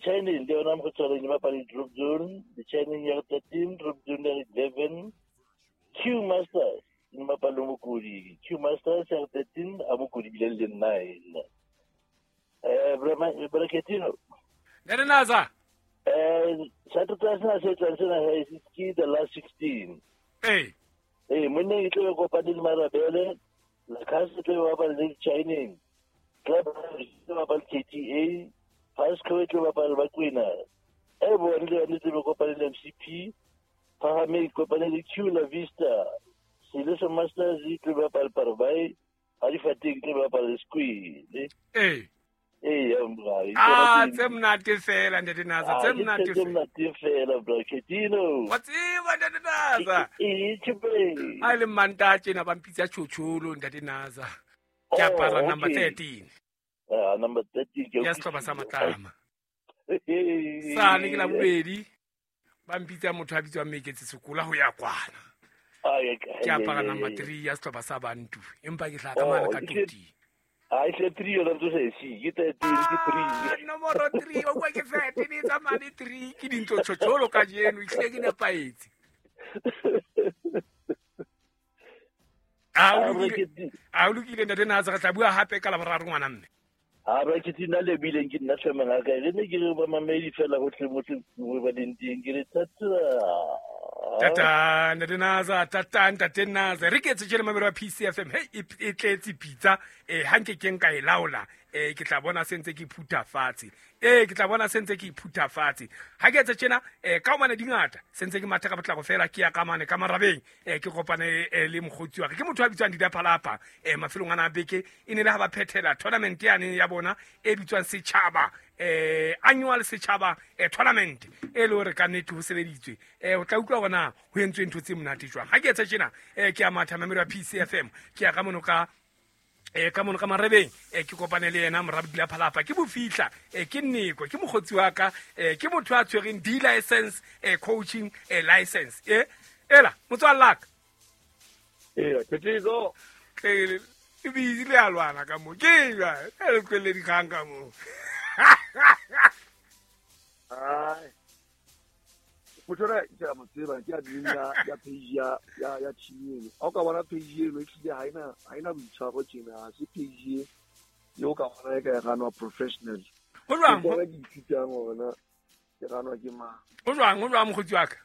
Chinese le yona mokgotsi e bapala le Drop Zone, the Chinese ya 13, Drop Zone ya 11, Q Masters e bapala le Mokodi, Q Masters ya 13, a Mokodi bile le 9. Braketino. Ntate Naza. Saturday sena se tlang sena ke the last 16. Ee. Ee, monna e tlo kopane le Marabele, Lakase tlo bapala le Chinese. Club e tlo bapala le KTA, Pasco e tlo bapala le Bakwena. E bone le yone tlo kopane le MCP, Phahame e kopane le Q La Vista. Seleso Masters e tlo bapala le Parabai, Halifateng e tlo bapala le Squid. Ee. Ee, ya Ah, tse monate fela ntate Naza, tse monate tse fela. monate fela Braketino. Wa tseba ntate Naza. Ee, tjhe. Ha e le Mantaha tjena ba mpitsa tjhotjholo ntate Naza. Ke Oh, apara number okay. 13 Ah, number 13 ke ya sehlopha sa Matlama. Sane ke la bobedi ba mpitsa motho a bitswang Meketse Sekola ho ya kwana. Ke apara number 3 ya sehlopha sa Bantu empa ke hlaha ka mane ka Toti. Ah, e 3 yona ntse se si, ke 13 ke 3. Nomoro 3 o kwa ke 13 e tsamaya le 3 ke dintlo tjhotjholo kajeno ehlile ke nepahetse. A o lokile, a o lokile ntate Naza, re tla bua hape ka Laboraro ngwana mme. Ha Braketino nna lebileng ke nna tlhomeng ka re ne ke re ba mamedi fela hohle mohle mo ba leng teng ke re tata. Tata ntate Naza, tata ntate Naza. Re ke etse tjena mamelo wa PCFM. Hey, e tletse pitsa. Ha nke ke nka e laola, ke tla bona se ntse ke phutha fatshe. Ke tla bona se ntse ke phutha fatshe. Ha ke etse tjena, ka hobane di ngata, se ntse ke matha ka potlako fela ke ya ka mane ka marabeng. Ke kopane le mokgotsi wa ka. Ke motho a bitswang Dida Phalapha. Mafelong ana a beke e ne le ha ba phethela tournament yane ya bona e bitswang Setjhaba, annual Setjhaba tournament e le hore ka nnete ho sebeditswe. O tla utlwa hore na ho entswe ntho tse monate jwang. Ha ke etsa tjena, ke a matha mamelo ya PCFM, ke ya ka mono ka ka mono ka marebeng, ke kopane le yena morabo Dila Phalapha. Ke bofihla, ke nneko, ke mokgotsi wa ka, ke motho a tshwereng D license, coaching, license. Ela motswalle wa ka. Ee, ke tliso. Tle, e busy le a lwana ka moo. Ke eng jwale? E le tlohelle dikgang ka moo. Ai. Motho ona ke a mo tseba, ke admin ya page ya team eno. Ha o ka bona page eno ehlile ha ena boitshwaro tjena, ha se page e eo ka bona e ka e ranwa professional. Ho jwang? Ke bona ke ithutang hore na ke ranwa ke mang. Ho jwang? Ho jwang mokgotsi wa ka?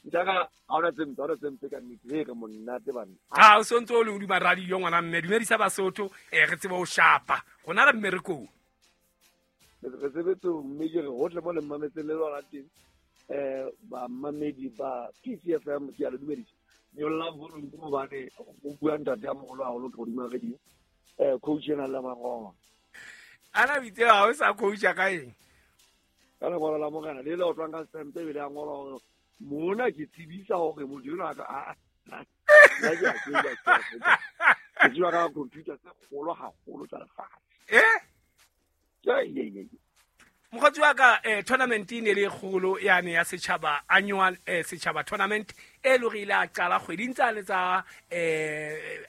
Ntaka, ha hona tse mpe, ha hona tse mpe ka nnete. He, re monate banna. Ha, o sontso o le hodima radio ngwana mme, dumedisa Basotho, re tsebe ho shapa. Rona re mmerekong. Re sebetsong, mme ke re hohle mo le mmametseng le lona teng. Bamamedi ba PCFM ke a le dumedisa. Nyolla volume ke hobane o bua ntate ya moholo haholo ke hodima radio. Coach ena le mangolo. Ana bitse ha o sa coacha ka eng? Ka lengolo la morena le le otlwang ka stamp ebile a ngola hore mona ke tsebisa hore motho enwa a ka, a, a, a, nna ke a tseba, ke a tseba. Ke tseba ka computer tse kgolo haholo tsa lefatshe. Eh? Ke, ye, ye, ye. Mokgotsi wa ka, tournament e ne le kgolo yane ya setjhaba annual, setjhaba tournament e le hore ile a qala kgweding tsa le tsa,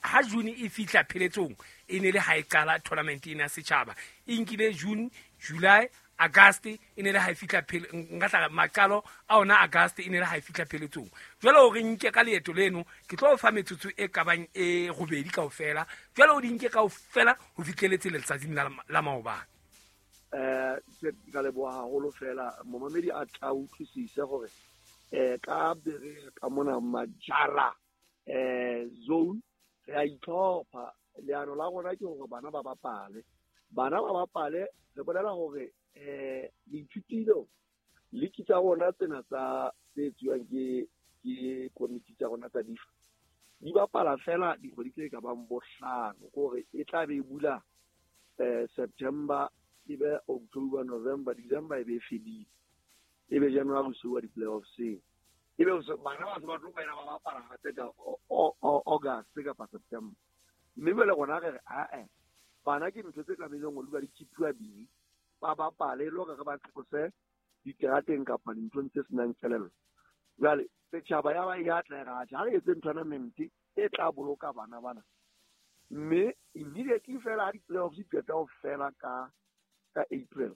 ha June e fihla pheletsong e ne le ha e qala tournament ena ya setjhaba. E nkile June, July, August e ne le ha e fihla phele, nka tla maqalo a ona August e ne le ha e fihla pheletsong. Jwale hore nke ka leeto leno ke tlo fa metsotso e kabang e robedi kaofela. Jwale o di nke kaofela ho fihleletse letsatsing la maobane. Ke ka leboha haholo fela momamedi a tla utlwisise hore, ka bere ka mona Majara, zone re a itlhopha. Leano la rona ke hore bana ba bapale. Bana ba bapale, re bolela hore, le ithutile liki tsa rona tsena tsa tse etsuwang ke komiti tsa rona tsa difa. Di bapala fela dikgwedi tse ka bang bohlano, ke hore e tla be e bula, September, e be October, November, December e be e fedile. E be January so wa di-playoffs-eng. E be so, bana ba se ba tlo boela ba bapala hape ka August kapa September. Mme jwale rona re re, ah-eh, bana ke ntho tse tlamehileng ho dula di keep-uwa busy. Ba bapale e le hore re ba tlose diterateng kapa dinthong tse senang kelello. Jwale setjhaba ya ba e atla e re, atjhe, ha re etse tournament e tla boloka bana bana. Mme immediately fela ha di-playoffs di qeta ho fela ka April,